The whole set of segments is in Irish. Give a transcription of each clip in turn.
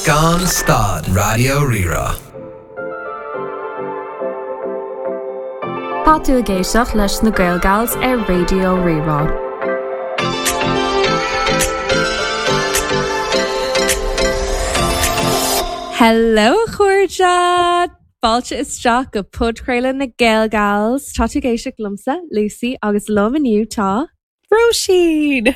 Gan Stad, Raidió Rí-Rá. Tá tú ag éisteacht leis na Gaelgals ar Raidió Rí-Rá. Hello a chairde! Fáilte isteach go podchraoladh na Gaelgals. Tá tú ag éisteacht liomsa, Lucy, agus liom inniu tá. Róisín!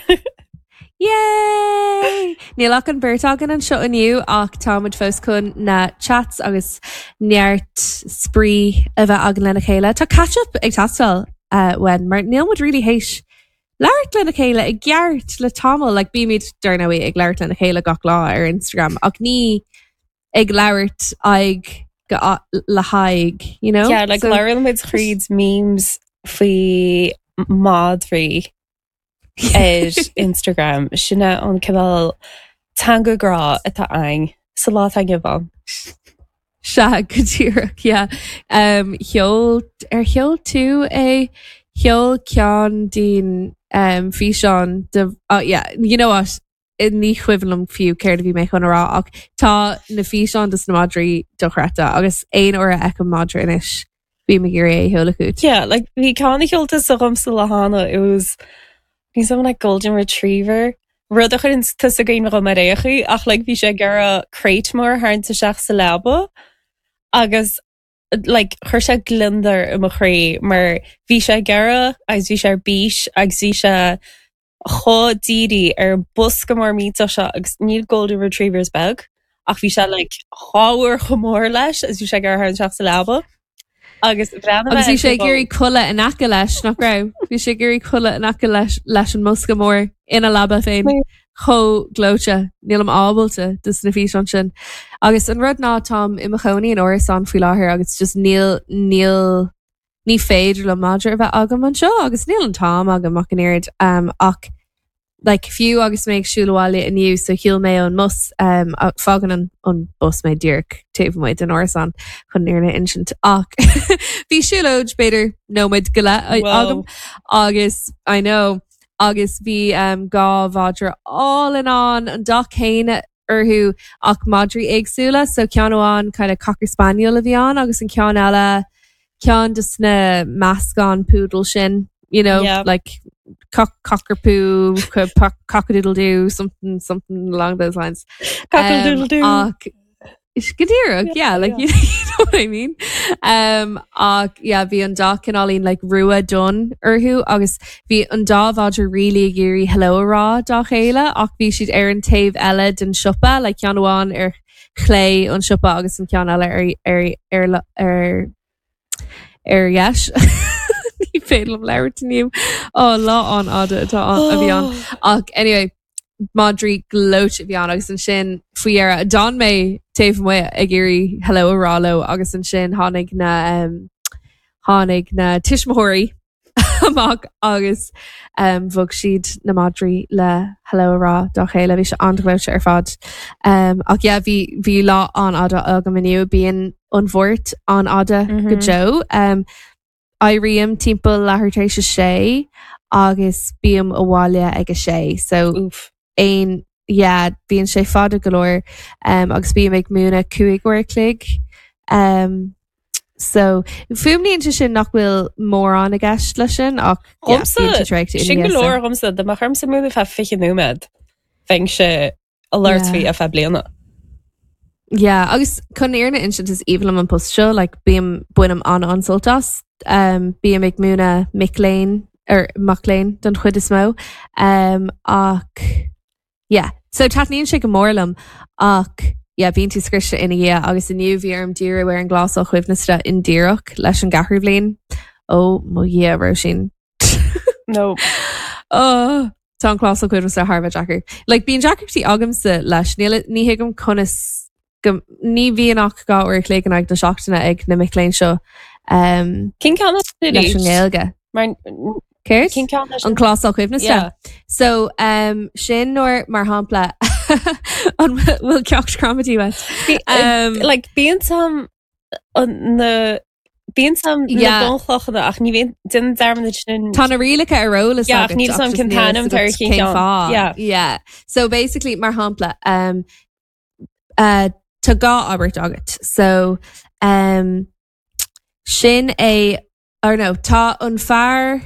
Yay! Níl ach an bheirt againn anseo inniu ach táimid fós chun na chats agus neart spraoi a bheith againn lena chéile. Tá catch-up ag teastáil uh, uainn mar níl muid really théis labhairt lena chéile i gceart le tamall, like bímid dar ndóigh ag labhairt lena chéile gach lá ar Instagram ach ní ag labhairt aghaidh go le haghaidh, you know? Yeah, like labhrann muid thríd memes faoi madraí ar Instagram. Sin é an cineál teanga grá atá againn sa lá atá inniu ann. Sea, go díreach, yeah. Um, sheol, ar sheol tú é? Sheol ceann dínn um, físeán de, oh yeah, you know what? Ní cuimhin liom fiú céard a bhí mé chun a rá ach tá na físeáin dos na madraí dochreidte agus aon uair a fheicim madra anois bím ag iarraidh é a sheoladh chugat. Yeah, like bhí ceann a sheol tusa dhomsa lá cheana, it was bhí something like golden retriever, rud a chuireann tusa i gcuimhne dhom ar aon chaoi ach like bhí sé ag iarraidh crate mór a tharraingt isteach sa leaba agus like chuir sé gliondar i mo chroí mar bhí sé ag iarraidh agus bhí sé ar bís agus bhí sé chomh dírithe ar an bosca mór millteach seo agus níl Golden Retrievers beag ach bhí sé like dhá uair chomh mór leis agus bhí sé ag iarraidh tharraingt isteach sa leaba agus bhreathnaigh mé Agus bhí sé ag iarraidh codladh in aice leis, nach raibh? Bhí sé ag iarraidh codladh in aice leis leis an mbosca mór ina leaba féin. Chomh gleoite. Nílim ábalta dos na físeáin sin. Agus an rud ná táim i mo chónaí in árasán faoi láthair agus just níl níl ní féidir liom madra a bheith agam anseo agus níl an t-am agam ach an oiread um, ach like, fiú agus mé ag siúl abhaile inniu so shiúil mé ón mbus um, fágann an, an bus mé díreach taobh amuigh den árasán chun an fhírinne a insint ach bhí siúlóid b'fhéidir nóiméad go leith agam agus I know agus bhí um, dhá mhadra álainn ann an dath céanna orthu ach madraí éagsúla, so ceann amháin kind of cocker spaniel a bhí ann agus an ceann eile ceann de sna meascán poodle sin, you know, Yeah. like cock cockerpoo, cockadoodle-doo, something something along those lines. Cockadoodle-doo. Um, ach go díreach, yeah, like you, you know what I mean. Um, ach yeah, bhí an dá cineáilín like rua donn orthu agus bhí an dá mhadra really ag iarraidh hello a rá dá chéile ach bhí siad ar an taobh eile den siopa, like ceann amháin ar chlé an siopa agus an ceann eile ar ar ar ar ar dheis. Ní féidir liom labhairt inniu. Ó, lá an-fhada atá a bhí ann. Ach anyway, madraí gleoite a bhí ann agus ansin faoi dheireadh d'fhan mé taobh amuigh ag iarraidh hello a rá leo agus ansin tháinig na um, tháinig na tuismitheoirí amach agus um, bhog siad na madraí le hello a rá dá chéile, bhí sé an-ghleoite ar fad. Um, ach yeah, bhí, bhí lá an-fhada agam inniu, bíonn an Mháirt an-fhada mm -hmm. go deo. Um, éirím timpeall leathuair tar éis a sé agus bím abhaile ag a sé, so Oof. aon yeah, bíonn sé fada go leor um, agus bím ag múineadh 5 uair a chloig. Um, so fuaimníonn sé sin nach bhfuil mórán i gceist leis sin ach yeah, Dhomsa, bíonn tú traochta ina sin go dhiaidh, so. leor dhomsa, dá mbeadh ormsa múineadh feadh 20 nóiméad, bheinnse ag labhairt faoi Yeah. ar feadh bliana. Yeah, agus chun an fhírinne a insint is aoibhinn liom an post seo, like, bím, bainim an-an-sult as. Um, bím ag múineadh mic léinn, or mac léinn don chuid is mó. Um, ach, yeah, so taitníonn sé go mór liom ach, yeah, bíonn tú scriosta ina dhiaidh agus inniu bhí orm díriú ar an gclásal coibhneasta indíreach leis an gceathrú bhliain. Ó, mo Dhia, Róisín. No. Oh, tá an clásal coibhneasta thar a bheith deacair. Like, bíonn deacrachtaí agamsa leis, níl, ní thuigim conas go, ní bhíonn ach 2 uair a chloig in aghaidh na seachtaine ag na mic léinn seo um, Cén ceann leis an nGaeilge. Mar Céard? Cén ceann An clásal coibhneasta. Yeah. So, um, sin nuair, mar shampla, an bhfuil ceacht gramadaí uait? Um, Like, bíonn sam na bíonn sam na Yeah. bunchlocha ach ní bhíonn déanaim dearmad sin Tá na rialacha ar eolas Yeah, agat, ach níl ach sam just cén níl t-ainm fhios agat ar cén cén ceann. fáth. Yeah. Yeah. So basically, mar shampla, um, Uh, tá dhá abairt agat. So um, sin é or no, tá an fear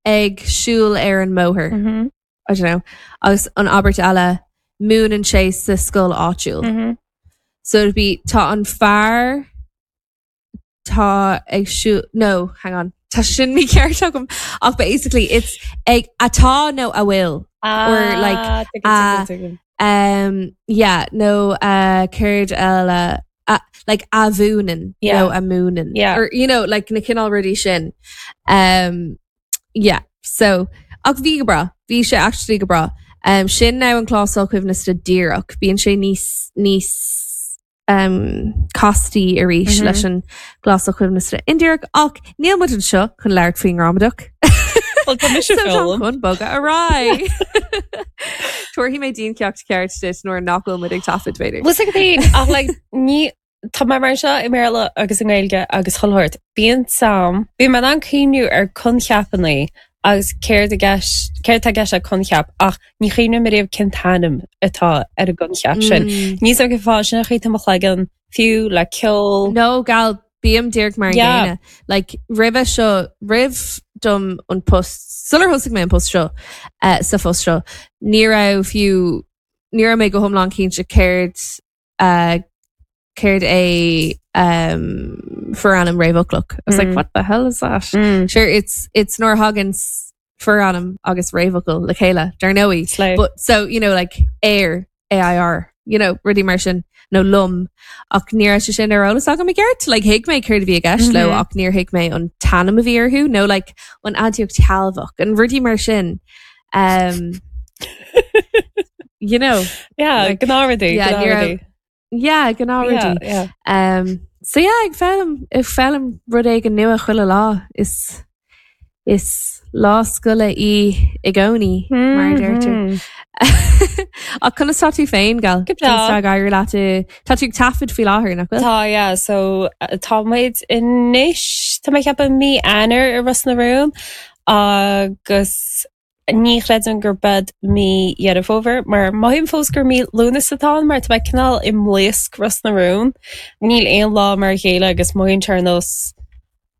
ag siúl ar an mbóthar. Mm -hmm. I don't know. Agus an abairt eile múineann sé sa scoil áitiúil. Mm -hmm. So it'd be tá an fear tá ag siúl no, hang on. Tá sin mícheart agam ach basically it's ag atá nó a bhfuil ah, or like uh, um, yeah, nó uh, céard eile uh, like a mhúineann yeah. nó a múineann yeah. or you know like na cineál rudaí sin um, yeah so ach bhí go breá bhí sé actually go breá um, sin now an clásal coibhneasta díreach bíonn sé níos níos um, castaí arís mm -hmm. leis an gclásal coibhneasta indíreach ach níl muid anseo chun labhairt faoin ngramadach. Well, tá mise so chun bogadh ar aghaidh. Tabharfaidh mé diancheacht ceart duit nuair nach bhfuil muid ag taifead b'fhéidir. Bhfuil a fhios agat ach like, ní Tá mé mar seo i mBéarla agus i nGaeilge agus chuile shórt. Bíonn sam, bíonn mé in ann cuimhniú ar coincheapanna agus céard i gceist, céard atá i gceist le coincheap ach ní chuimhním ariamh cén t-ainm atá ar an gcoincheap sin. Níl 's agam cén fáth sin an chaoi atá mo chloigeann, fiú le ceol. No, gal, bím díreach mar an Yeah. gcéanna. Like, roimhe seo, roimh dom an post, sular thosaigh mé an post seo, eh, sa phost seo, ní raibh fiú, ní raibh mé go hiomlán cinnte céard, eh, céard é um, forainm réamhfhoclach. I was like, Mm. what the hell is that? Mm. Sure, it's, it's nuair a thagann forainm agus réamhfhocal le chéile, dar ndóigh. Slay. But so, you know, like air, AIR, you know, rudaí mar sin, nó liom. Ach ní raibh sé sin ar eolas agam i gceart, like thuig mé céard a bhí i gceist leo, Mhm. ach níor thuig mé an t-ainm a bhí orthu, nó like an aidiacht shealbhach, an rudaí mar sin. Um, you know, Yeah, like, gnáthrudaí, yeah, ní raibh- gnáthrudaí. yeah, gnáthrudaí. Yeah, yeah. Um, so yeah, ag foghlaim, ag foghlaim rud éigin nua chuile lá is is lá scoile í i gcónaí, mar a deirtear. Mhm. Ach conas tá tú féin, Gal? Go breá. Conas tá ag éirí leat i- Tá tú ag taifead faoi láthair, nach bhfuil? Tá, yeah, so uh, tá muid anois, tá mé ag ceapadh mí Eanáir i Ros na Rún agus ní chreidim gurb é mí Dheireadh Fómhair mar mothaím fós gur mí Lúnasa atá ann mar tá mé cineál i mblaosc Ros na Rún. Níl aon lá mar a chéile agus mothaíonn sé ar nós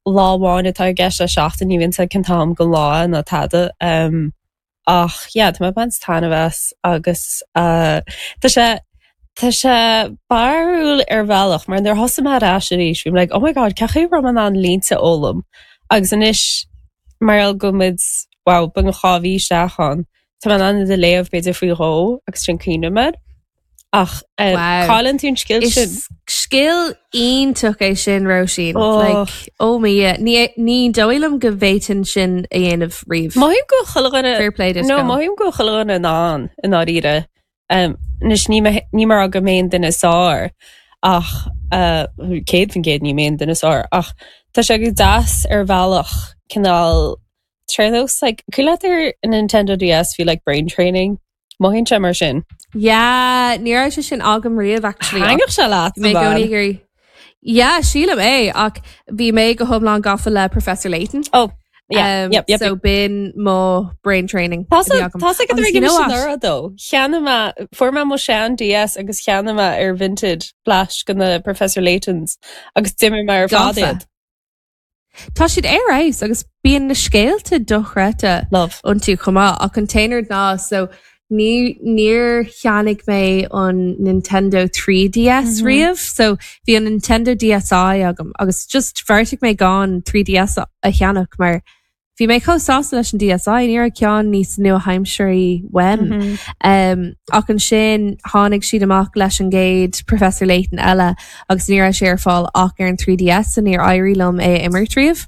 lá amháin atá i gceist le seachtain, ní bhíonn a fhios agat cén t-am den lá ná tada. Um, ach yeah, tá mé ag baint taitneamh as agus uh, tá sé Tá sé barrúil ar bhealach mar nuair a thosaigh mé ar ais arís bhí mé like oh my god cén chaoi a raibh mé in ann línte a fhoghlaim agus anois mar gheall go bhfuil muid wow beagnach 2 mhí isteach ann tá mé in ann iad a léamh b'fhéidir faoi dhó agus ansin cuimhním air ach eh, Wow. cailleann tú an scil Is sin. scil iontach é sin Róisín. Oh. Like, oh my Dhia. Ní ní dóigh liom go bhféadfainn sin a dhéanamh riamh. Mothaím go bhfuil chuile dhuine Fair play duit, No Gal. mothaím go bhfuil chuile dhuine in ann i ndáiríre. Anois ní ní mar go mé an duine is fearr ach 100% ní mé an duine is fearr ach tá sé go deas ar bhealach cineál ar nós like cuimhin leat ar an Nintendo DS bhí like brain training mothaíonn sé mar sin. Yeah, ní raibh sé sin agam riamh actually. Thaitneodh sé leat Bhí mé i gcónaí ag iarraidh. Yeah, sílim é ach bhí mé go hiomlán gafa le Professor Layton. Oh, Yeah, Um, yep, yep, so yep. b'in mo brain training Tá a bhí agam. tá go Agus you know what? anuraidh dó. Cheannaigh mé fuair mé mo shean DS agus cheannaigh mé ar Vinted bleaist de na Professor Laytons agus d'imir mé ar fad Gafa. iad. Tá siad ar fheabhas agus bíonn na scéalta dochreidte Love. iontu chomh maith ach an t-aon rud ná so ní níor cheannaigh mé an Nintendo 3DS riamh so bhí an Nintendo DSi agam agus just bheartaigh mé gan 3DS a cheannach mar bhí mé chomh sásta leis an DSi ní raibh ceann níos nua-aimseartha uaim. Um, ach ansin tháinig siad amach leis an gcéad Professor Layton eile agus ní raibh sé ar fáil ach ar an 3DS so níor éirigh liom é a imirt riamh.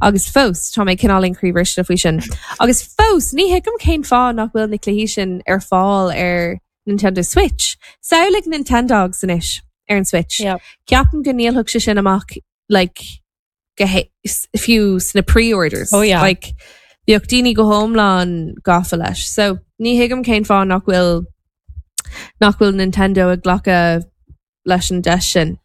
Agus fós, tá mé cineáilín croíbhriste faoi sin. Agus fós, ní thuigim cén fáth nach bhfuil na cluichí sin ar fáil ar Nintendo Switch. Samhlaigh Nintendogs anois ar an Switch. Yep. Ceapaim go ndíolfadh sé sin amach like, go fiú sna pre-orders. Oh, yeah. Like, bheadh daoine go hiomlán gafa leis. So, ní thuigim cén fáth nach bhfuil nach bhfuil Nintendo ag glacadh leis an deis sin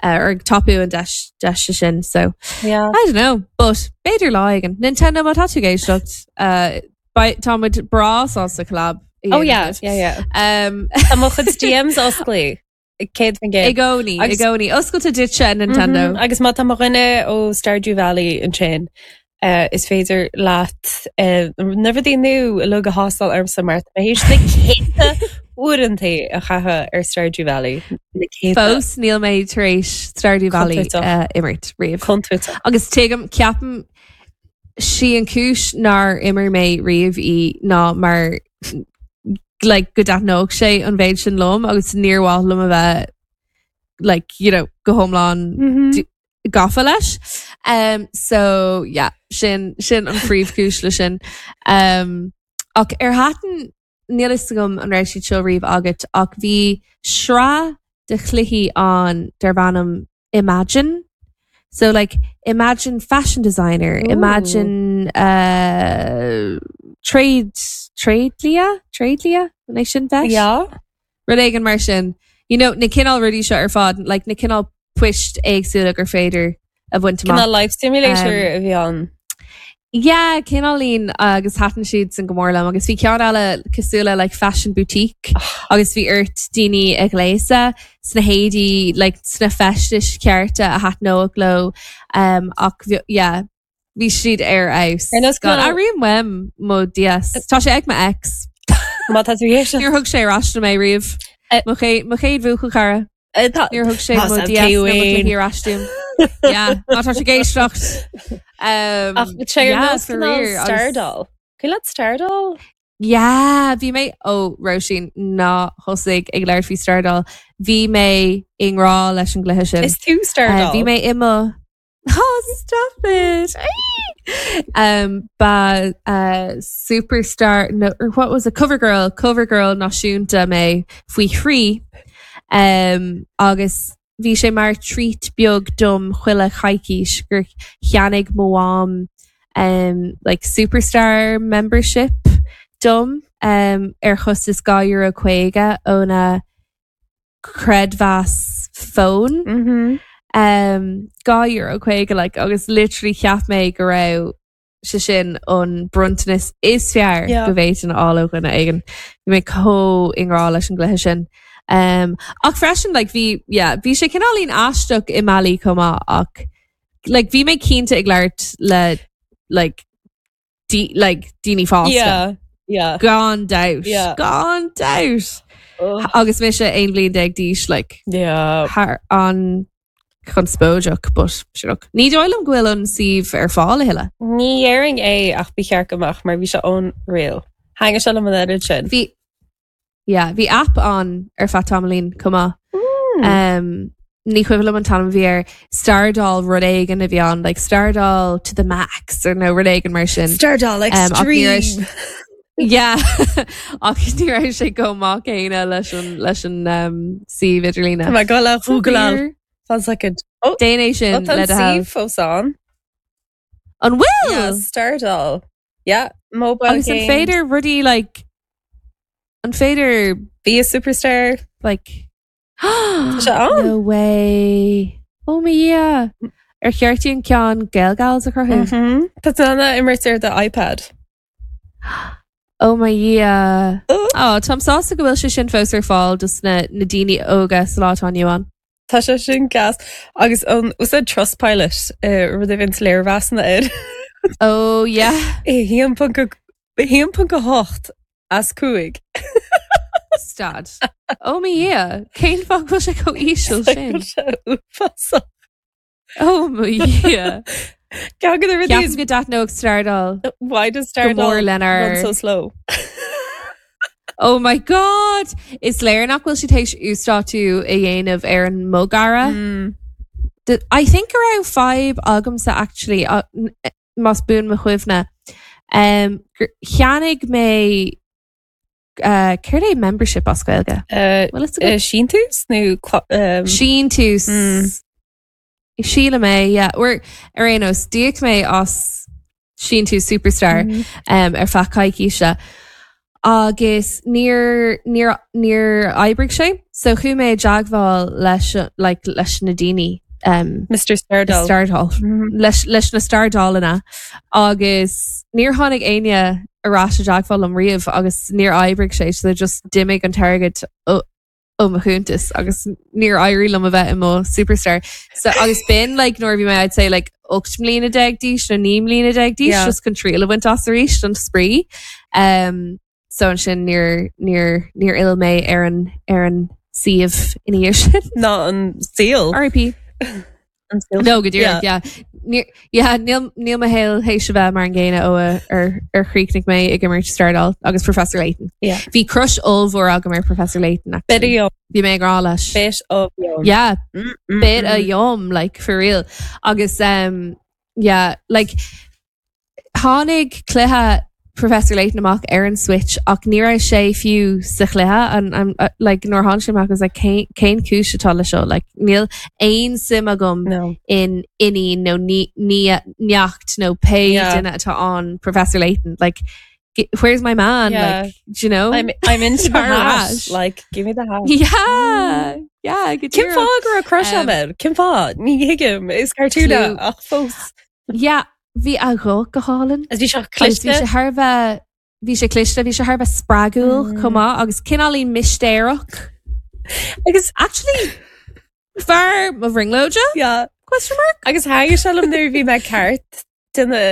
or ag tapú an deis deise sin so Yeah. I don't know but b'fhéidir lá éigin Nintendo má tá tú ag éisteacht uh, tá muid breá sásta collab Oh yeah, yeah, yeah. Um, Tá mo chuid DMs oscailte. 100%. I gcónaí, i gcónaí. Oscailte duitse, a Nintendo. Agus má tá mo dhuine ó Stardew Valley ansin, is féidir leat na rudaí nua uilig a thástáil ormsa mar tá mé théis na céadta uaireanta a chaitheamh ar Stardew Valley. Na céadta. Fós níl mé tar éis Stardew Valley a imirt riamh. Contúirteach. Agus tuigim, ceapaim, sí an chúis nár imir mé riamh í ná mar like go dtaitneodh sé an mhéid sin liom agus níor mhaith liom a bheith like you know go hiomlán mm -hmm. gafa leis. Um, so yeah, sin sin an phríomhchúis le sin. Um, ach ar thaitin níl fhios agam an raibh siad seo riamh agat ach bhí sraith de chluichí ann darb ainm Imagine. So like imagine fashion designer, Ooh. imagine uh, trade tréidlia tréidlia an é sin deis? Yeah. Rud éigin mar sin. You know, na cineál rudaí seo ar fad, like na cineál poist éagsúla gur féidir a bhaint amach. Cineál life simulator a bhí ann. Yeah, cineáilín agus thaitin siad san go mór liom agus bhí ceann eile cosúil le like fashion boutique agus bhí ort daoine a ghléasadh sna héadaí like sna feistis cearta a thaitneodh leo um, ach yeah, bhí siad ar fheabhas. Ar nós God, airím uaim mo DS. Tá sé ag mo ex. Má tá tú éisteacht. Níor thug sé ar ais dom é riamh. Mo chéad bhuachaill cara. Níor thug sé mo DS nó mo chluichí ar ais dom. Yeah, má tá sé ag éisteacht. Ach sé ar nós cineál Stardoll. Cuimhin leat Stardoll? Yeah, bhí mé ó Róisín ná thosaigh ag labhairt faoi Stardoll. Bhí mé i ngrá leis an gcluiche sin. Is tú Stardoll. Bhí mé i mo Oh, stop it! Um, ba uh, superstar, no, or what was it? Cover girl, cover girl náisiúnta mé faoi thrí. Um, agus bhí sé mar treat beag dom chuile choicís gur cheannaigh mo mham um, like superstar membership dom um, ar chostas €2.50 óna creidmheas fóin. Mm-hmm. Um, €2.50 like, agus literally cheap mé go raibh sé sin an bronntanas is fearr Yeah. go bhféadfainn a fháil ó dhuine éigin. Bhí mé chomh i ngrá leis an gcluiche sin. Um, ach freisin like, bhí yeah, bhí sé cineáilín aisteach i mbealaí chomh maith ach like, bhí mé cinnte ag labhairt le like, like daoine fásta. Yeah, yeah. Gan dabht. Yeah. Gan dabht. Ugh. Agus mise 11 bliain d'aois like, Yeah. thar an-chonspóideach, but sure look. Ní dóigh liom go bhfuil an suíomh ar fáil a thuilleadh. Ní dhéarfainn é ach ba cheart go mbeadh mar bhí sé unreal. Thaitnigh sé liom an oiread sin. Bhí Yeah, bhí app ann ar feadh tamaillín chomh maith. Um, ní cuimhin liom an t-ainm a bhí air. Stardoll rud éigin a bhí ann, like Stardoll to the max or nó rud éigin mar sin. Stardoll Um, ach ní raibh Extreme! Yeah, ach ní raibh sé chomh maith céanna leis an, leis an um, suíomh idirlíne. Tá mé ag dul a Googleáil. Weird. Fan soicind. Oh, Déan é sin oh, tá le an do thoil. suíomh fós ann. An bhfuil? Yeah, Stardoll. Yeah, mobile Agus an games. féidir rudaí like an féidir Be a superstar. like Tá sé ann. No way. Oh my Dhia. Ar cheart dúinn ceann Gaelgals a chruthú? Mhm. Tá tú in ann imirt ar do iPad. Oh my Dhia. Oh. Oh, táim sásta go bhfuil sé sin fós ar fáil dos na na daoine óga sa lá atá inniu ann. Tá sé sin gas. Agus an úsáid Trustpilot rud a bhíonn léirmheasanna air. Oh yeah. 1.8 as 5. Stad. Oh my Dhia. Cén fáth go bhfuil sé chomh íseal sin? Sé uafásach. Oh my Dhia. Ceann de na rudaí Ceapaim go dtaitneodh Stardoll. Why does Go mór Stardoll lenár run so slow? Oh my God! Is léir nach bhfuil siad théis uasdátú a dhéanamh ar an mbogearra. Mm. I think go raibh fadhb agamsa actually, uh, más buan mo chuimhne. Um, cheannaigh mé uh, céard é membership as Gaeilge? Uh, Well, it's a good uh, Síntiús nó um, Síntiús. Mm. Sílim é, yeah. Or, ar aon nós, d'íoc mé as síntiús Superstar Mm. um, ar feadh coicíse. Agus níor, níor, níor oibrigh sé, so chuaigh mé i dteagmháil leis, like, leis na daoine um, Mr. Stardoll. Stardoll. Mm. leis, leis na Stardollanna agus níor tháinig éinne ar ais i dteagmháil liom riamh agus níor oibrigh sé, so just d'imigh an t-airgead ó- ó mo chuntas agus níor éirigh liom a bheith i mo superstar. So agus b'in like nuair a bhí mé I'd say like 18 mbliana d'aois nó 19 mbliana d'aois Yeah. just chun triail a bhaint as arís don spraoi. Um, so ansin níor níor níor fhill mé ar an ar an suíomh ina dhiaidh sin. Ná an saol. RIP. An saol. No, go díreach, yeah. Níor, yeah, níl, níl mo shaol théis a bheith mar an gcéanna ó a, ar, ar chríochnaigh mé ag imirt Stardoll agus Professor Layton. Yeah. Bhí crush ollmhór agam ar Professor Layton, Bit actually. of yum. Bhí mé ag rá leis. Bit of yum. Yeah, Mm, mm, bit of mm. yum, like, for real. Agus, um, yeah, like, Tháinig cluiche Professor Layton amach ar an Switch ach ní raibh sé fiú sa chluiche and I'm like nuair a tháinig sé amach I was like cén cén cúis atá le seo like níl aon suim agam No. in iníon nó ní ní neacht nó pé Yeah. duine atá an Professor Layton like g- where's my man Yeah. like do you know I'm, I'm into the Tar hat. ais. Like, give me the hat. yeah yeah go Cén díreach. fáth go raibh crush Um, agat? Cén fáth? Ní thuigim is cartoon Clue. ach fós. Yeah bhí a ghuth go hálainn. Agus bhí sé Agus bhí cliste. sé thar a bheith bhí sé cliste, bhí sé thar a bheith spreagúil Mm. chomh maith agus cineáilín mistéireach. Agus Actually, fear mo bhrionglóide? yeah. Question mark? Agus thaitnigh sé liom nuair a bhí mé ceart de na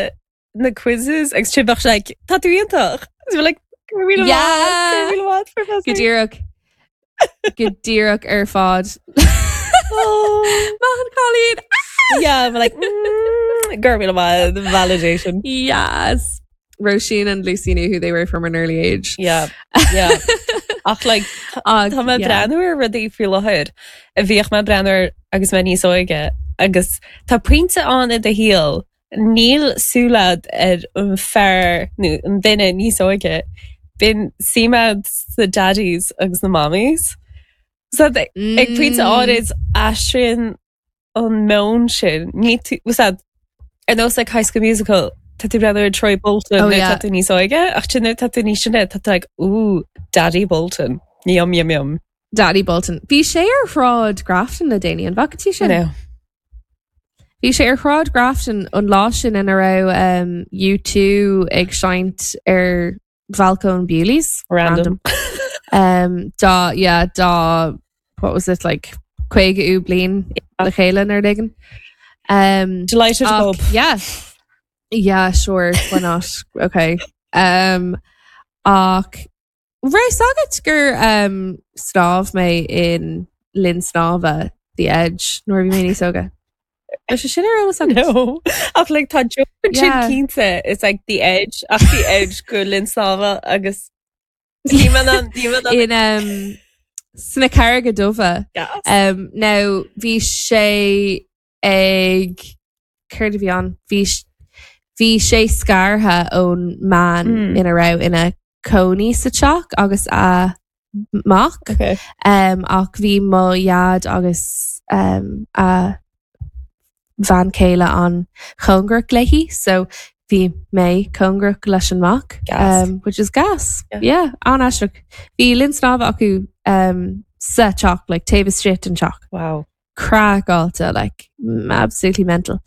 na quizzes agus sin bheadh sé like, tá tú iontach. Agus bhí like, go raibh míle maith, Yeah. go raibh míle maith, Professor. Go díreach. Go díreach ar fad. Oh. Maith an cailín. Yeah, I'm like, mm, go raibh míle maith, the validation. Yes. Roisin and Lucy knew who they were from an early age. Yeah, yeah. Ach like, Ach, Tá mé yeah. breathnú ar rudaí faoi láthair a bhíodh mé breathnú air agus mé níos óige agus tá pointe ann i do shaol níl súil agat ar an fear nó an duine níos óige bíonn suim agat sna daddies agus na mommies. So ag pointe Mm. áirid aistríonn an meon sin. Ní tú, was that, ar nós like High School Musical, tá tú breathnú ar Troy Bolton Oh, nuair yeah. tá tú níos óige, ach sin nuair tá tú níos sine, tá tú like, ooh, Daddy Bolton. Yum, yum, yum. Daddy Bolton. Bhí sé ar Shráid Grafton le déanaí, an bhfaca tú sin? No. Bhí sé ar Shráid Grafton an lá sin ina raibh um, U2 ag seinnt ar bhalcóin Bewley's. Random. Um, dá, yeah, dá, what was it, like, 50ú bliain le chéile nó rud éigin. Um, Delighted ach, pub. yeah. Yeah, sure, why not? Okay. Um, ach, raibh fhios agat gur um, shnámh mé in linn snámha The Edge nuair a bhí mé níos óige? Raibh sé sin ar eolas agat? No. Ach like tá joke sin Yeah. cinnte, it's like the edge, ach the edge go linn snámha agus ní mé an- ní mé an- In um, sna Carraige Dubha. Gas. Um, now, bhí sé ag céard a bhí ann? Bhí s- bhí sé scartha ón mbean Mm. ina raibh ina cónaí sa teach agus a mac. Okay. Um, ach bhí mo dhaid agus um, a bhean chéile an-chóngarach léi, so bhí mé cóngarach leis an mac, Gas. um, which is gas. Yeah. Yeah, an-aisteach. Bhí linn snámha acu um, sa teach, like taobh istigh den teach. Wow. Craiceáilte, like absolutely mental.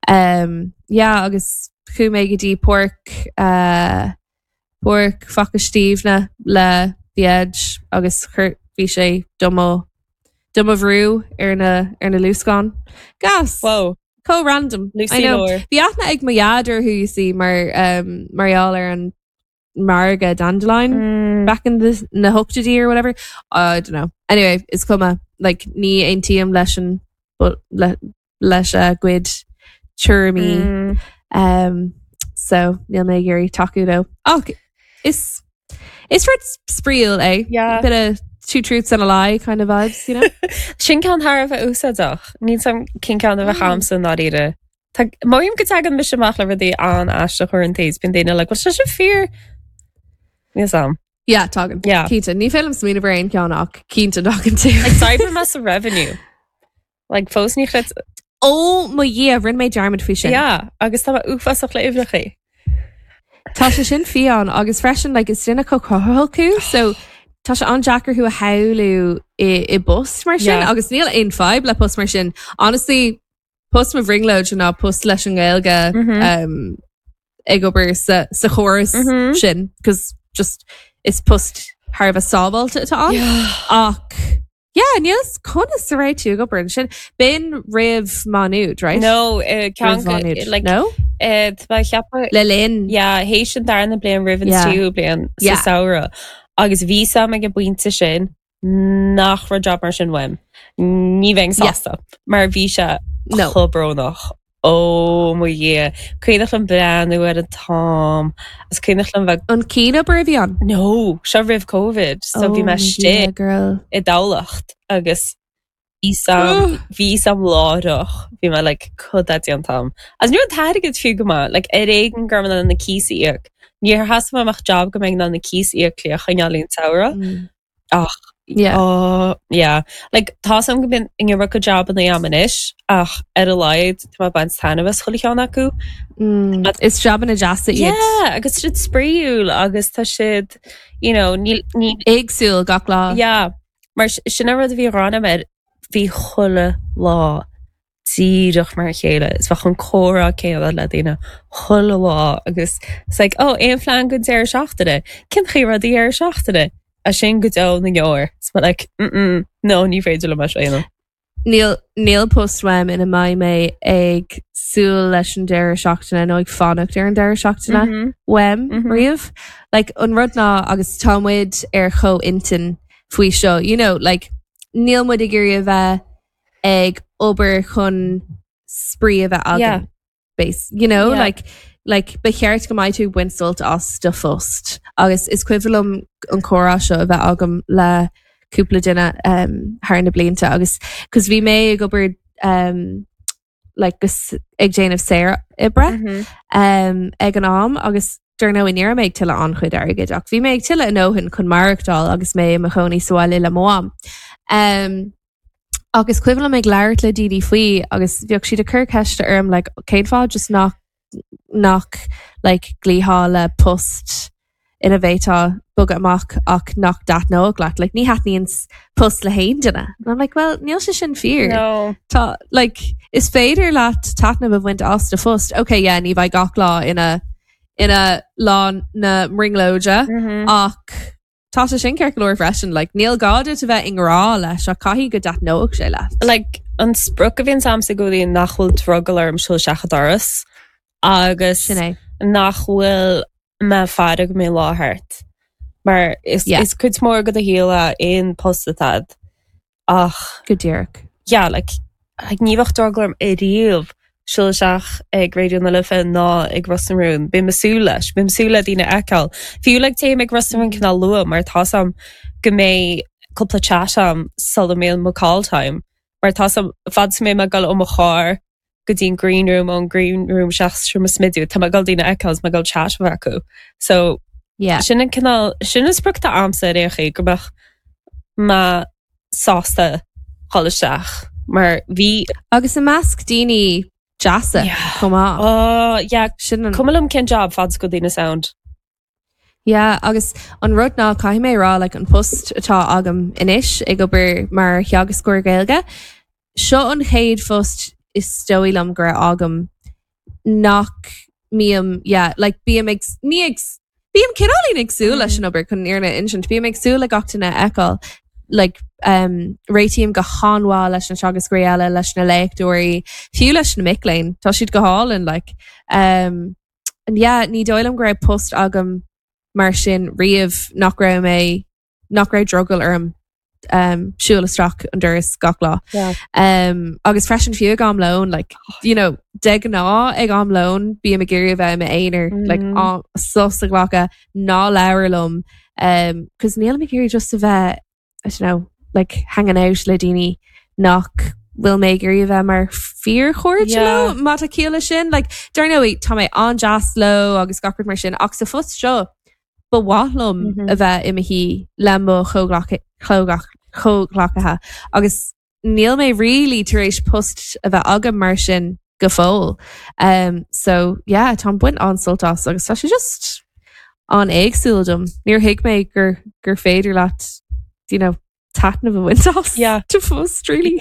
Um, yeah, agus chuaigh mé go dtí páirc uh, Páirc Mhac Stiabhna le The Edge agus chuir bhí sé do mo do mo bhrú ar na ar na luascáin. Gas! Whoa. Chomh random. Lucy I know. Lore. Bhí aithne ag mo dhaid orthu, you see, mar um, mar gheall ar an margadh Dandelion Mm. back in the na hochtaidí or whatever. I don't know. Anyway, is cuma like ní aontaím leis an but le, leis a gcuid tuairimí. Mm. Um, so níl mé ag iarraidh tacú leo. Ach is is rud spraíúil é. Yeah. Bit of two truths and a lie kind of vibes, you know? Sin ceann thar a bheith úsáideach. Níl 'fhios a'm cén ceann a bheadh Mm. a'msa i ndáiríre. Tá- Mothaím go dtagann mise amach le rudaí an-aisteach uaireanta is bíonn daoine like, bhfuil sé sin fíor? Níl 'fhios a'm. Yeah, tagann. Yeah. Cinnte, ní féidir liom smaoineamh ar aon cheann ach cinnte tagann tú. Like, d'oibrigh mé sa revenue. Like, fós ní chreid Ó mo Dhia, rinne mé dearmad faoi sin. Yeah, agus tá mé uafásach le uimhreacha. Tá sé sin fiáin agus freisin like, is duine chomh cruthaitheach thú, so tá sé an-deacair thú a shamhlú i, i bpost mar sin Yeah. agus níl aon fadhb le post mar sin. Honestly, post mo bhrionglóid ná post leis an nGaeilge Mm -hmm. um, ag obair sa, sa chóras Mm -hmm. sin, cos just is post thar a bheith sábháilte atá ann. Yeah. Ach. Yeah, níl 'fhios conas a raibh tú ag obair ansin. B'in roimh Má Nuad, right? No, eh, Roimh Má Nuad. like, No? eh, tá mé ag ceapadh Le linn. Yeah, théis an darna bliain roimh an Yeah. tríú bliain sa Yeah. samhradh. Agus bhí 'fhios a'm ag an bpointe sin nach raibh job mar sin uaim. Ní bheinn Yeah. sásta, mar bhí sé No. chomh brónach. Ó mo Dhia, cuimhneach liom breathnú ar an t-am is cuimhneach liom bheith An cianobair a bhí ann? No, seo roimh Covid, so bhí Oh mé mo Dhia, istigh girl. i dTamhlacht agus bhí 'fhios a'm, bhí 'fhios a'm láithreach, bhí mé like cad tá déanta a'm. Agus ní raibh an t-airgead fiú go maith, like ar éigean go raibh mé in ann na cíos a íoc. Níor theastaigh uaim ach job go mbeinn in ann na cíos a íoc le a choinneáil an samhradh. Mm. Ach Yeah. oh, yeah. Like, tá 'fhios a'm go mbíonn an iomarca jobanna a'm anois ach ar a laghad tá mé ag baint taitneamh as chuile cheann acu. Mm. Is jobanna deasa iad. Yeah, agus tá siad spraíúil agus tá siad, you know, ní, ní, Éagsúil gach lá. yeah. Mar sin an rud a bhí ghráin air, bhí chuile lá díreach mar a chéile. Is bheadh an comhrá céanna le daoine chuile lá agus it's like, oh, aon phlean don deireadh seachtaine? Cén chaoi a raibh do dheireadh seachtaine? As sin go deo na ndeor. Is mé like, mm-mm, no, ní féidir liom é seo a dhéanamh. Níl, níl post uaim ina mbeidh mé ag súil leis an deireadh seachtaine nó ag fanacht ar an deireadh seachtaine Mm -hmm. uaim Mm -hmm. riamh. Like, an rud ná agus tá muid ar chomhintinn faoi seo, you know, like, níl muid ag iarraidh a bheith ag obair chun spraoi a bheith Yeah. againn. Base, you know, Yeah. like, like, ba cheart go mbeidh tú ag baint sult as do phost. Agus is cuimhin liom an comhrá seo a bheith agam le cúpla duine um, thar na blianta agus cos bhí mé ag obair um, like, gus ag déanamh saor oibre Mm -hmm. um, ag an am agus dar ndóigh ní raibh mé ag tuilleadh an-chuid airgid ach bhí mé ag tuilleadh a ndóthain chun maireachtáil agus mé i mo chónaí sa bhaile le mo mham. Um, Agus cuimhin liom ag labhairt le daoine faoi agus bhíodh siad ag cur ceiste orm like cén fáth just nach nach like glaothá le post ina bhféadfá bogadh amach ach nach dtaitneodh leat. Like ní thaitníonn post le haon duine. And I'm like, well, níl sé sin fíor. No. Tá like is féidir leat taitneamh a bhaint as do phost. Okay, yeah, ní bheidh gach lá ina ina lá na mbrionglóide Mm -hmm. ach Tá sé sin ceart go leor freisin, like, níl gá duit a bheith i ngrá leis ach caithfidh go dtaitneoidh sé leat. Like, an sprioc a bhíonn a'msa i gcónaí nach bhfuil drogall orm siúl isteach an doras agus Sin é. nach bhfuil mé ag faire go mbeidh lá thart. Mar is, Yeah. is cuid mhór de do shaol é aon post atá a'd. Ach. Go díreach. Yeah, like, like ní bheadh drogall orm ariamh siúl isteach ag Raidió na Life ná ag Ros na Rún. Bím ag súil leis. Bím ag súil le daoine a fheiceáil. Fiú like téim ag Ros na Rún cineál luath mar tá 's a'm go mbeidh cúpla chat a'm sula mbíonn mo call time. Mar tá 's a'm fad is a mbeidh mé ag dul ó mo charr go dtí an green room, ón green room isteach sa seomra smididh, tá mé ag dul daoine a fheiceáil is mé ag dul chat a bheith acu. So, Yeah. sin an cineál, sin an sprioc atá a'msa ar aon chaoi, go mbeadh mé sásta dhul isteach mar bhí. Agus i measc daoine deasa Yeah. chomh maith. Oh, yeah. Sin an. Cuma liom cén job fad is go bhfuil daoine sound. Yeah, agus an rud ná caithfidh mé a rá like an post atá agam anois ag obair mar theagascóir Gaeilge, seo an chéad phost is dóigh liom go raibh agam nach mbím, yeah, like bím ag, ní ag, bím cineáilín ag súil leis an obair chun an fhírinne a insint, bím ag súil le gach duine a fheiceáil, like um, réitím go han-mhaith leis na teagascóirí eile, leis na léachtóirí, fiú leis na mic léinn, tá siad go hálainn, like um, and yeah, ní dóigh liom go raibh post agam mar sin riamh nach raibh mé, nach raibh drogall orm um, siúl isteach an doras gach lá. Yeah. Um, agus freisin fiú ag am lóin, like, you know, de ghnáth ag am lóin bím ag iarraidh a bheith i m'aonar, mm. like, á, sos a ghlacadh, ná labhair liom, um, cos nílim ag iarraidh just a bheith I don't know, like hanging out le daoine nach bhfuil mé ag iarraidh a bheith mar fíorchairde Yeah. leo, má tá ciall leis sin. Like, dar ndóigh, tá mé an-deas leo agus gach rud mar sin, ach sa phost seo, ba mhaith liom Mm -hmm. a bheith i mo shuí le mo chomhghleacaithe agus níl mé really tar éis post a bheith agam mar sin go fóill. Um, so yeah, táim ag baint an-sult as agus tá sé just an-éagsúil dom. Níor thuig mé gur, gur féidir leat, you know, taitneamh a bhaint as Yeah. do phost, really.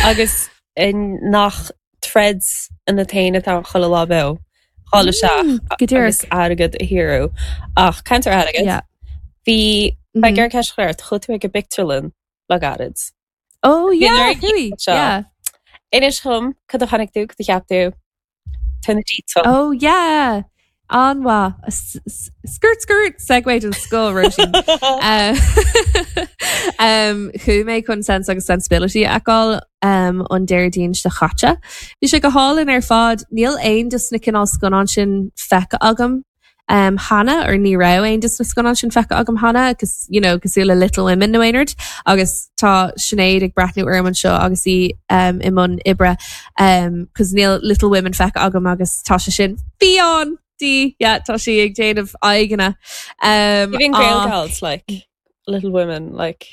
Agus in nach troid ionat féin atá chuile lá beo. Dhul isteach Mm, go díreach. agus airgead a shaothrú. Ach caint ar airgead. Yeah. Bhí Mm Beidh -hmm. ar ceist chléir, chuaigh tú ag an bpictiúrlann le gairid. Oh yeah, chuaigh, yeah. Inis dhom, cad a chonaic tú, cad a cheap tú? Tá na details. Oh yeah! An-mhaith. Skirt skirt! Segue den scoth, Róisín. Um, chuaigh mé chun Sense agus Sensibility a fheiceáil um, an Déardaoin seo chaite. Bhí sé go hálainn ar fad. Níl aon de na cineál scannán sin feicthe agam um, cheana, or ní raibh aon de na scannáin sin feicthe agam cheana, agus, you know, cosúil le Little Women nó aon rud, agus tá Sinéad ag breathnú orm anseo agus í um, i mbun oibre, um, cos níl Little Women feicthe agam agus tá sé sin fiáin di, yeah, tá sí ag déanamh aghaidheanna. Um, Even Gael Gals, like, Little Women, like.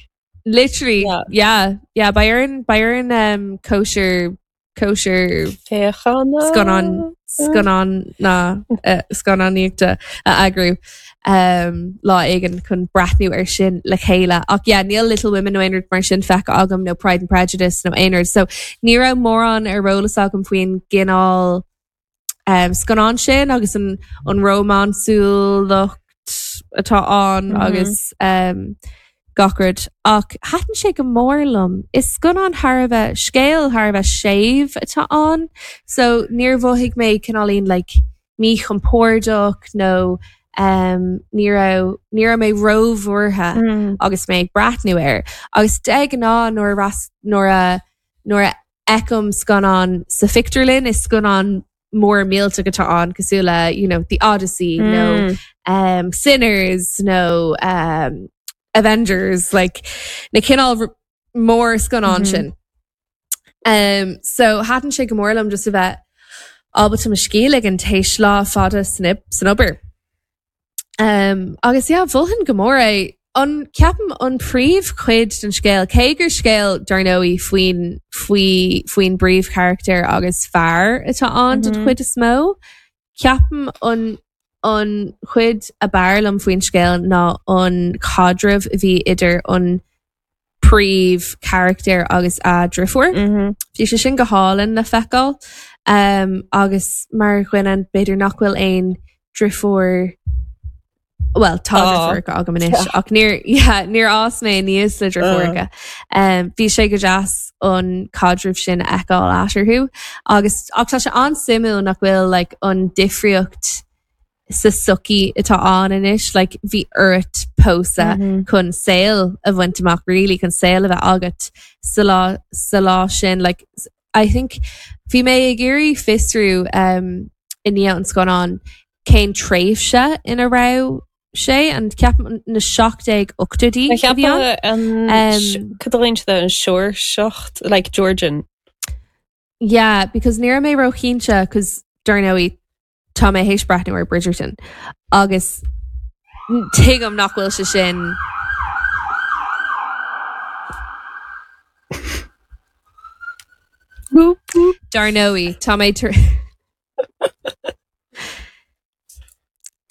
Literally, yeah, yeah, yeah beidh orainn, beidh orainn um, cóisir cóisir Féachana? scannán scannán na eh, scannánaíochta a eagrú um, lá éigin chun breathnú ar sin le chéile. Ach yeah, níl Little Women nó aon rud mar sin feicthe agam nó Pride and Prejudice nó aon rud. So ní raibh mórán ar eolas agam faoin gcineál um, scannán sin agus an, an rómánsúlacht atá ann mm -hmm. agus um, gach rud. Ach thaitin sé go mór liom. Is scannán thar a bheith scéal thar a bheith séimh atá ann, so níor mhothaigh mé cineáilín like míchompordach nó um, ní raibh ní raibh mé róbhuartha mm. agus mé ag breathnú air. Agus de ghnáth nuair a nuair a nuair a fheicim scannán sa phictiúrlann is scannán mór millteach atá ann cosúil le you know, The Odyssey mm. nó um, Sinners nó um, Avengers like, na cineál mór scannán mm -hmm. sin. Um, so thaitin sé go mór liom just a bheith ábalta mo scíth a ligean théis lá fada san, san obair. Um, agus yeah, mholfainn go mór é. An ceapaim an príomhchuid den scéal, cé gur scéal dar ndóigh faoin faoi faoin bpríomhcharachtar agus fear atá ann den mm -hmm. chuid is mó, ceapaim an an chuid a b'fhearr liom faoin scéal ná an caidreamh a bhí idir an príomhcharachtar agus a driofúr. Mm -hmm. Bhí sé sin go hálainn le feiceáil um, agus mar dhuine b'fhéidir nach bhfuil aon driofúr well tá driofúracha agam anois ach níor yeah, níor fhás mé aníos le driofúracha. Um, bhí sé go deas an caidreamh sin a fheiceáil eatarthu agus ach tá sé an-suimiúil nach bhfuil like, an difríocht sa sochaí atá ann anois, like, bhí ort pósadh mm -hmm. chun saol a bhaint amach really chun saol a bheith agat sa lá sa lá sin like, I think bhí mé ag iarraidh fiosrú um, i ndiaidh an scannán cén tréimhse ina raibh sé an ceapaim na 1780idí a bhí ann. Um, Cad a ghlaonn siad an Seoirseacht like Georgian. Yeah, because ní raibh mé róchinnte cos dar ndóigh Tá mé théis breathnú ar Bridgerton agus tuigim nach bhfuil sé sin Dar ndóigh, tá mé tar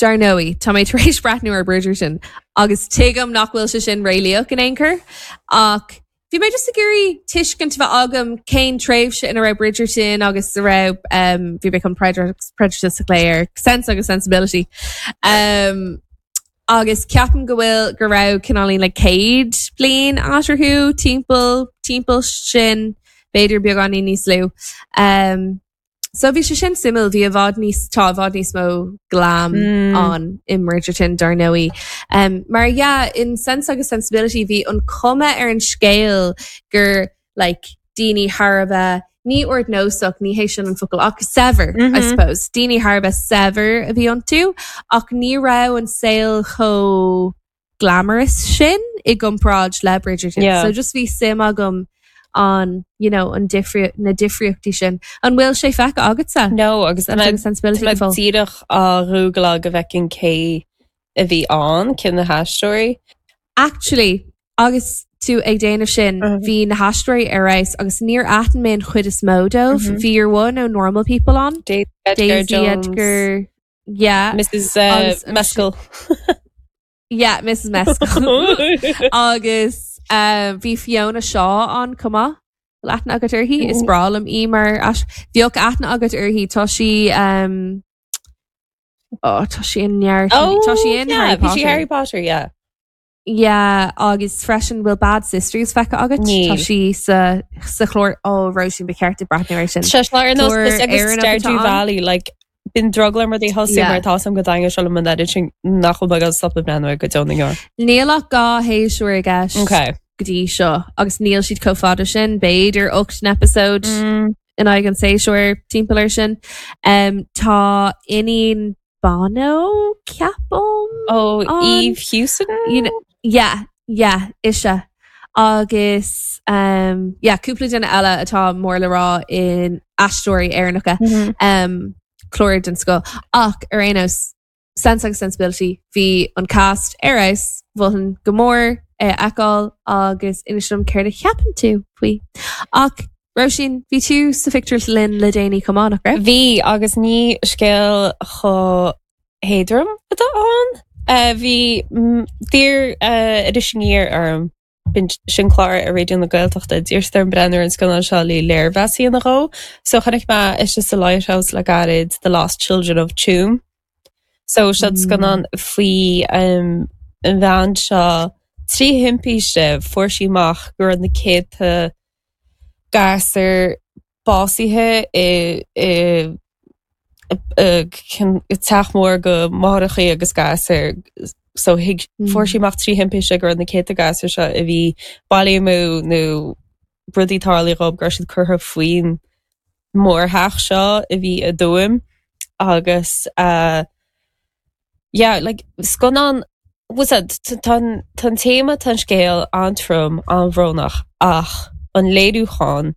Dar ndóigh, tá mé tar éis breathnú ar Bridgerton agus tuigim nach bhfuil sé sin réalaíoch in aon chor ach Bhí mé just ag iarraidh tuiscint a bheith agam cén tréimhse ina raibh Bridgerton agus a raibh um, bhí mé chun Prejudice a ghlaoch ar Sense agus Sensibility. Um, agus ceapaim go bhfuil go raibh cineáilín le 100 bliain eatarthu timpeall timpeall sin b'fhéidir beagáinín níos lú. Um, So bhí sé sin suimiúil, bhí i bhfad níos, tá i bhfad níos mó glam mm. ann i mBridgerton dar ndóigh. Um, mar yeah, in Sense agus Sensibility bhí an cuma ar an scéal gur like, daoine thar a bheith ní ardnósach ní hé sin an focal ach saibhir mm -hmm. I mm-hmm. suppose daoine thar a bheith saibhir a bhí iontu ach ní raibh an saol chomh glamorous sin i gcomparáid le Bridgerton. Yeah. So just bhí suim agam an you know, an difri na difríochtaí sin. An bhfuil sé feicthe agatsa? No, agus Sense agus Sensibility go fóill. díreach á ghúgláil go bhfeicfinn cé a bhí ann, cé na haisteoirí. Actually, agus tú ag déanamh sin, uh -huh. bhí na haisteoirí ar fheabhas agus níor aithin mé an chuid is mó dóibh. Mm -hmm. Bhí your one ó Normal People ann. Daisy Edgar, Daisy Edgar Yeah. Mrs. Uh, Maisel. Yeah, Mrs. Maisel. Agus uh, bhí Fiona Shaw ann chomh maith. Bhfuil aithne agat uirthi? Is breá liom í mar bheadh aithne agat uirthi tá sí um, oh, tá sí in neart oh, tá sí in yeah, Harry Potter. Harry Potter, yeah. Yeah, agus freisin bhfuil Bad Sisters feicthe agat? Níl. Tá sí sa sa chlár ó Róisín ba cheart duit breathnú air sin. Sé ar nós Clár agus Éireannach atá Stardew ann. Valley, like, bíonn drogall orm rudaí a thosú Yeah. mar tá a fhios agam go dtaitneoidh sé liom an oiread sin nach bhfuil mé ag dul stopadh breathnú air go deo na ndeor. Níl ach 2 shéasúr i gceist Okay. go dtí seo agus níl siad chomh fada sin, b'fhéidir 8 n-eipeasóid Mm. in aghaidh an tséasúir timpeall air sin. Um, tá iníon Bono, ceapaim? Ó, An- Eve Hewson? You know, yeah, yeah, ise. Agus um, yeah, cúpla duine eile atá mór le rá in aisteoirí Éireannacha. Mhm. Um, clár den scoth. Ach ar aon nós, Sense agus Sensibility, bhí an cast ar fheabhas, mholfainn go mór é a fheiceáil agus inis dom céard a cheapann tú faoi. Ach Róisín, bhí tú sa phictiúrlann le déanaí chomh maith, nach raibh? Bhí, agus ní scéal chomh héadrom atá ann. Bhí, d'iarr Iris Aniar orm, b'in sin clár ar Raidió na Gaeltachta, d'iarr siad orm breathnú ar an scannán seo le léirmheas a dhéanamh dhó. So chonaic mé istigh sa Lighthouse le gairid The Lost Children of Tuam. So seo scannán faoi an bhean seo, trí thimpiste fuair sí amach go raibh na céadta gasúr básaithe i teach mór de mháithreacha agus gasúir so thuig fuair sí amach trí thimpiste go raibh na céadta gasúr seo a bhí bailithe amú nó rudaí tarlaithe dhóibh go raibh siad curtha faoin mórtheach seo a bhí i dTuaim agus yeah like scannán what's that tá an tá an téama tá an scéal an-trom an-bhrónach ach an léiriúchán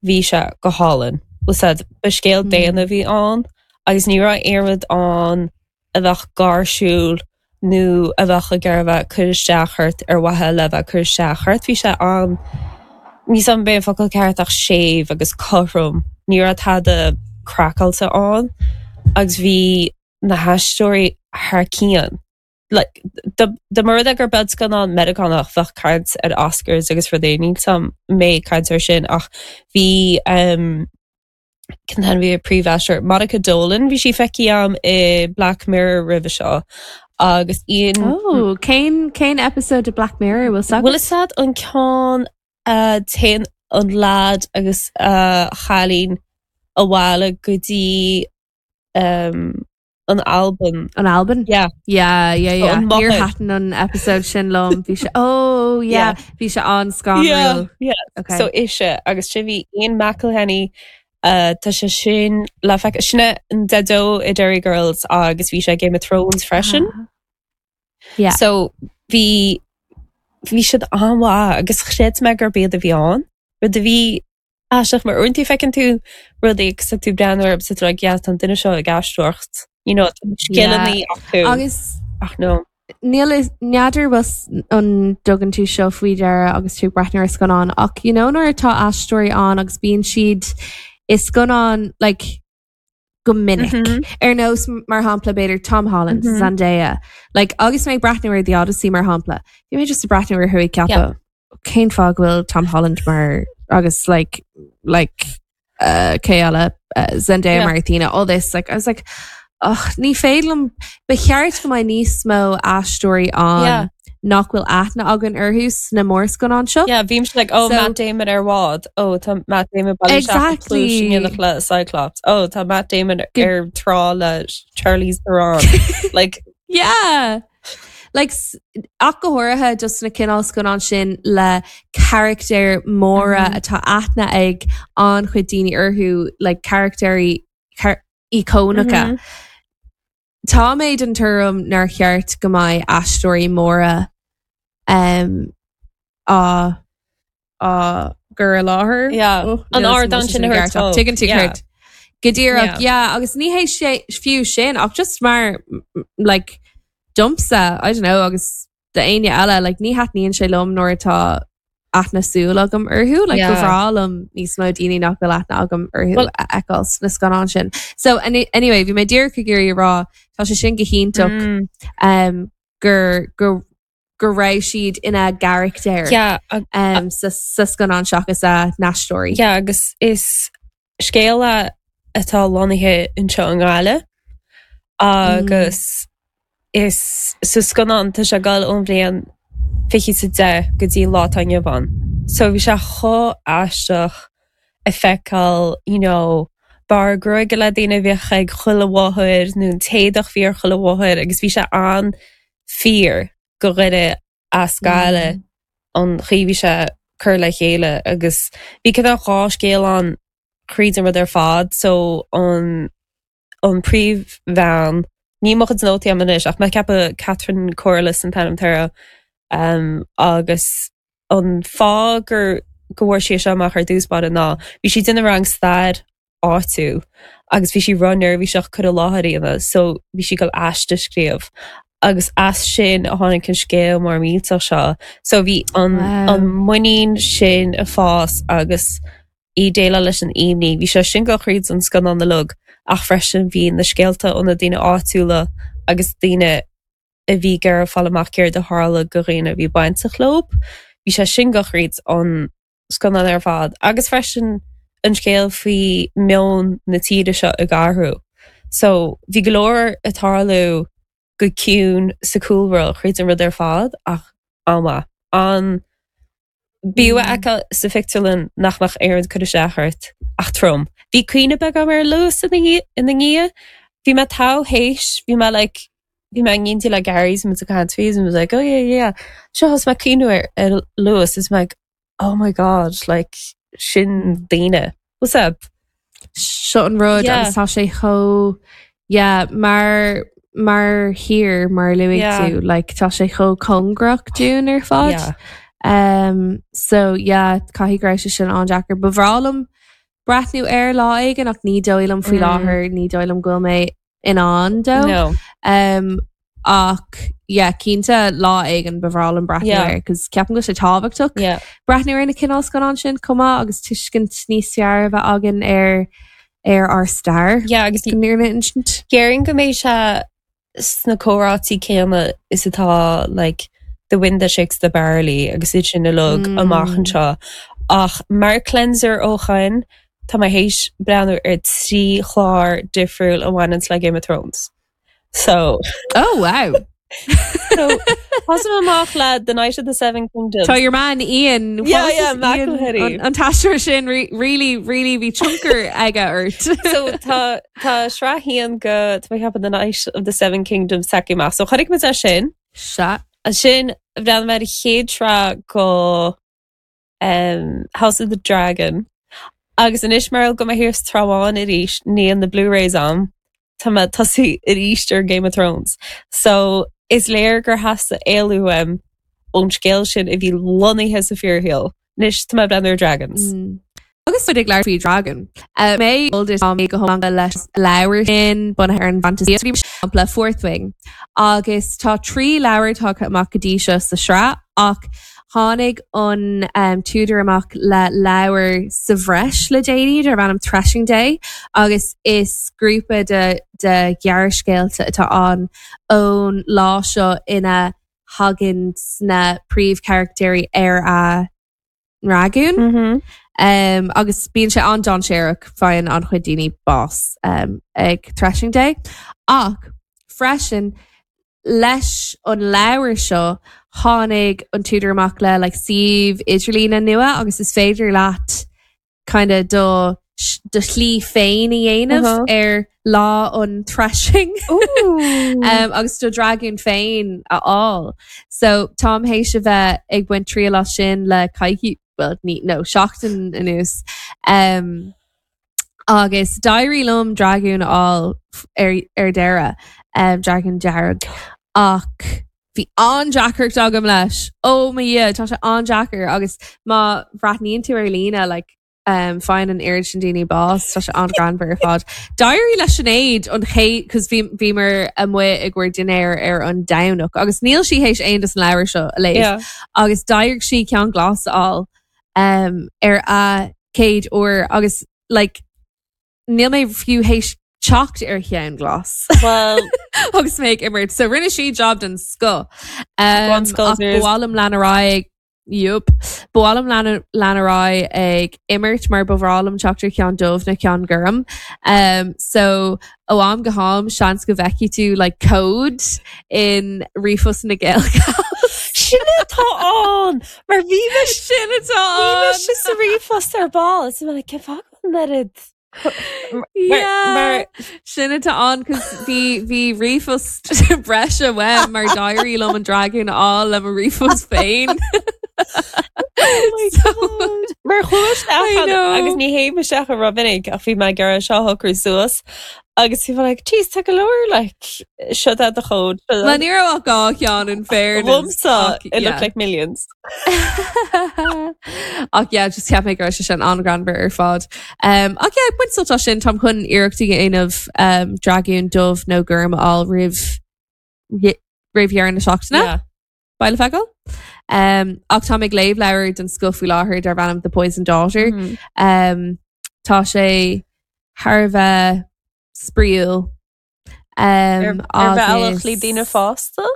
bhí sé go hálainn what's that ba scéal daonna a bhí ann agus ní raibh aon rud ann a bheadh gáirsiúil nó a bheadh ag iarraidh a bheith ag cur isteach ort ar mhaithe le bheith ag cur isteach ort bhí sé an níl 's a'm an b'é an focal ceart ach séimh agus cothrom ní raibh tada craiceáilte ann agus bhí na haisteoirí thar cionn. Like, dá mba rud é gurb é scannán Meiriceánach bheadh caint ar Oscars agus rudaí, níl 's a'm an mbeidh caint air sin ach bhí um, cén t-ainm bhí an príomhaisteoir Monica Dolan, bhí sí feicthe a'm i Black Mirror roimhe seo agus Ian Oh, cén cén episode de Black Mirror bhfuil 's agat? Bhfuil 'fhios a'd an ceann a téann an lad agus a chailín abhaile go dtí um, an Albain. An Albain? Yeah. Yeah, yeah, yeah. An Níor máthair. thaitin an episode sin liom. Bhí sé oh yeah, Yeah. bhí sé an-scanrúil. Yeah, yeah. Okay. So ise agus sin bhí Ian McElhinney uh, tá sé sin le feiceáil sin é an Daideo i Derry Girls agus bhí sé Game of Thrones freisin. Ah. Yeah. So bhí bhí siad an-mhaith agus chreid mé gurb iad a bhí ann. Rud a bhí Aisteach mar uaireanta feiceann tú rudaí agus tá tú ag breathnú orthu agus tá tú like yeah tá an duine seo ag aisteoireacht you know tá scileanna Yeah. acu Agus ach no. Níl a fhios n'fheadar bhfuil an dtugann tú seo faoi deara agus tú ag breathnú ar scannán ach you know nuair atá aisteoirí ann agus bíonn siad i scannán like go minic. Ar nós mar shampla b'fhéidir Tom Holland, Zendaya. Like agus mé ag breathnú ar The Odyssey mar shampla, bhí mé just ag breathnú orthu ag ceapadh cén fáth go bhfuil Tom Holland mar agus like like uh, cé eile uh, Zendaya Yeah. mar Athena all this like I was like ugh, ní féidir liom ba cheart go mbeadh níos mó aisteoirí ann Yeah. nach bhfuil aithne againn orthu sna mórscannáin seo. Yeah, bhímse like, oh, So- Matt Damon ar bhád. Oh, tá Matt Damon bailithe Exactly. exactly. le Cyclops. Oh, tá Matt Damon Go- ar trá le Charlize Theron. like, Yeah. Like, s- ach go háirithe just na cineál scannán sin le carachtair móra Mhm. atá aithne ag an-chuid daoine orthu, like carachtair char íocónacha. Mhm. Tá mé den tuairim nár cheart go mbeidh aisteoirí móra um, á á gcur i láthair. Yeah. Oh, An níl ardán 'fhios sin a an thabhairt gceart ach dóibh. Tuigeann tú Yeah. céard. Go díreach, Yeah. yeah, agus ní hé sé fiú sin ach just mar m- like domsa, I don't know, agus d'éinne eile, like ní thaitníonn sé liom nuair atá aithne súl agam orthu, like Yeah. ba bhreá liom níos mó daoine nach bhfuil aithne agam orthu Well- a fheiceáil sna scannáin sin. So any, anyway, bhí mé díreach ag iarraidh a rá, tá sé sin go hiontach Mm. um, gur, gur, go raibh siad ina gcarachtair Yeah, ag- um, sa, sa scannán seachas a n-aisteoirí. yeah, agus is scéal é atá lonnaithe anseo i nGaillimh agus is sa scannán tá sé ag dul ón bhliain. 2010 go dtí an lá atá inniu ann. So bhí sé chomh aisteach ag feiceáil you know barr gruaige le daoine a bhíodh ag chuile mháthair nó an t-éadach a bhí ar chuile mháthair agus bhí sé an-fhíor go dhuine as Gaillimh an chaoi a bhí sé curtha le chéile agus bhí cineál dhá scéal ann thríd an rud ar fad so an an príomhbhean, níl mo chuid nótaí agam anois ach mé ag ceapadh Catherine Corless an t-ainm atá uirthi, um, agus an fáth gur go bhfuair sí é seo amach ar dtús báire ná bhí sí ag déanamh rang stair áitiúil agus bhí sí ró-neirbhíseach cur i láthair a dhéanamh so bhí sí ag dul aiste a scríobh agus as sin a tháinig an scéal mór millteach seo so bhí an Wow. an muinín sin ag fás agus í ag déileáil leis an imní. Bhí sé sin ag dul thríd an scannán uilig ach freisin bhí na scéalta ó na daoine áitiúla agus daoine a bhí ag iarraidh fáil amach céard a tharla go dhaoine a bhí bainteach leo. Bhí sé sin ag dul thríd an scannán ar fad agus freisin an scéal faoi meon na tíre seo ag athrú. So bhí go leor ag tarlú go ciúin sa cúlra thríd an rud ar fad ach an-mhaith. An B'fhiú a fheiceáil sa phictiúrlann nach mbeadh aon rud ag cur isteach ort ach trom. Bhí caoineadh beag agam ar an Luas ina ndiaidh. Bhí mé togha théis, bhí mé like, bhí mé in éindí le Gary is muid ag caint faoi is muid like oh yeah yeah. Seo thosaigh mé ag caoineadh ar ar Luas is mé like oh my god like sin daoine. What's up? Seo an rud Yeah. agus tá sé chomh yeah, mar mar thír mar luaigh Yeah. tú like, tá sé chomh cóngarach dúinn ar fad. Yeah. Um, so yeah, caithfidh go raibh sé sin an-deacair. Ba bhreá liom breathnú air lá éigin ach ní dóigh liom faoi Mm. láthair, ní dóigh liom go bhfuil mé in ann dó. No. Um, ach yeah, cinnte lá éigin ba bhreá liom breathnú Yeah. air, cos ceapaim go bhfuil sé tábhachtach Yeah. breathnú ar na cineál scannán sin chomh maith agus tuiscint níos fearr a bheith againn ar ar ár stair. Yeah, agus Go n-iarna insint. Déarfainn go mbeidh sé sna comhráití céanna is atá like The Wind That Shakes the Barley agus iad sin uilig amach anseo. Ach mar cleanser ó shoin, tá mé théis breathnú ar 3 chlár difriúil a bhaineanns le Game of Thrones. So. Oh wow! So, thosaigh mé amach le The Knight of the Seven Kingdoms. Tá your man Ian, what Yeah, was yeah, his Ian, McElhenney. an, an t-aisteoir sin re, really, really bhí tionchar aige ort. So tá tá sraith haon go tá mé ag ceapadh The Knight of the Seven Kingdoms tagtha amach. So chonaic muid é sin. Sea. Ansin bhreathnaigh mé ar an chéad sraith go um, House of the Dragon. Agus anois mar go mbeidh thiar sa Trá Bháin arís, níl na Blu-rays agam, tá mé ag tosú arís ar Game of Thrones. So is léir gur theastaigh éalú uaim ón scéal sin a bhí lonnaithe sa fíorshaol. Anois tá mé ag breathnú ar Dragons. Mm. Agus muid ag labhairt faoi Dragon. Mé tá mé go hiomlán leis leabhar sin bunaithe ar an bhfantasaíocht, shampla Fourth Wing. Agus tá 3 leabhar tagtha amach go dtí seo sa sraith ach tháinig an t-údar amach le leabhar sa bhreis le déanaí darb ainm Threshing Day agus is grúpa de de ghearrscéalta atá ann ón lá seo ina thagann na príomhcharachtair ar a ndragún. Mm -hmm. Um, agus bíonn sé an-dainséarach faigheann an-chuid daoine bás um, ag Threshing Day. Ach freisin leis an leabhar seo tháinig an t-údar amach le like, suíomh idirlíne nua agus is féidir leat kind of do do shlí féin a dhéanamh uh -huh. ar lá an threshing um, agus do dragún féin a fháil. So táim théis a bheith ag baint triail as sin le coicís well, ní, no, seachtain anuas. Um, agus d'éirigh liom dragún a fháil ar, ar deireadh um, dragún dearg ach bhí an-deacracht agam leis. Ó mo Dhia, tá sé an-deacair agus má bhreathnaíonn tú ar líne like, um, faigheann an oiread sin daoine bás, tá sé an-ghreannmhar ar fad. D'éirigh le Sinéad an chéad, cos bhí, bhíomar amuigh i gcomhair dinnéir ar an Domhnach agus níl sí théis aon dos na leabhair seo a léamh Yeah. agus d'éirigh sí ceann glas a fháil um, ar a céad uair agus like, níl mé fiú théis teacht ar cheann glas Well, agus mé ag imirt. So rinne sí job den scoth. Um, Go on, ach ba mhaith liom lean ar aghaidh. Yup. Ba mhaith liom lean lean ar aghaidh ag imirt mar ba bhreá liom teacht ar cheann dubh nó ceann gorm. Um, so ó am go ham seans go bhfeicfidh tú like cód in ríomhphost na Gaelgals. Sin atá ann! Mar bhí mise Sin atá bhí ann! mise sa ríomhphost ar ball is mé like cén fáth go bhfuil an oiread Yeah, sin atá ann cos bhí bhí ríomhphost breise uaim mar d'éirigh liom an dragún a fháil le mo ríomhphost féin. Oh my God. Mar chuaigh isteach I know. agus ní théim isteach go rómhinic ach bhí mé ag iarraidh seo a shocrú suas agus bhí mé like jeez tá go leor like seo é do chód. Well ní raibh ach dhá cheann in fairness. Dhomsa ach, it looked yeah. like millions. Ach yeah, just cheap mé go raibh sé sin an-ghreannmhar ar fad. Um, ach yeah, baint sult as sin, táim chun iarracht a dhéanamh um, dragún dubh nó gorm a fháil roimh roimh dheireadh na seachtaine. Yeah. Beidh le feiceáil. Um, ach táim ag léamh leabhar den scoth faoi láthair darb ainm The Poison Daughter. Mm -hmm. um, tá sé thar a bheith spraíúil. Um, ar bhealach le daoine fásta?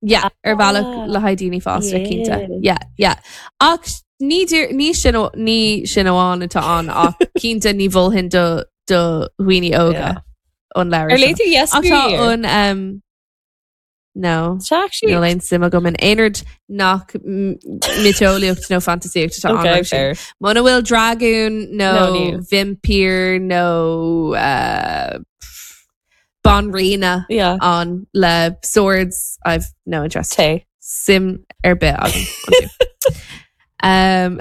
Yeah, ar bhealach le haghaidh daoine fásta cinnte. Yeah, yeah. Ach ní ní sin ní sin amháin atá ann ach cinnte ní mholfainn do do dhaoine óga an leabhar. Ar léigh tú Ach tá an um, No. Níl aon suim agam in aon rud nach miotaseolaíocht nó fantaisíocht atá Okay, ann. fair. Muna bhfuil dragún nó No, níl. vaimpír nó uh, banríona Yeah. ann le swords, I've no interest. Té. Suim ar bith agam. iontu. um,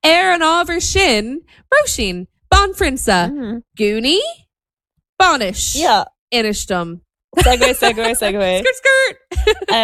ar an ábhar sin, Róisín, banphrionsa, Mm. gúnaí, bainis, Yeah. inis dom. Segue, segue, segue. Skirt, skirt! Um,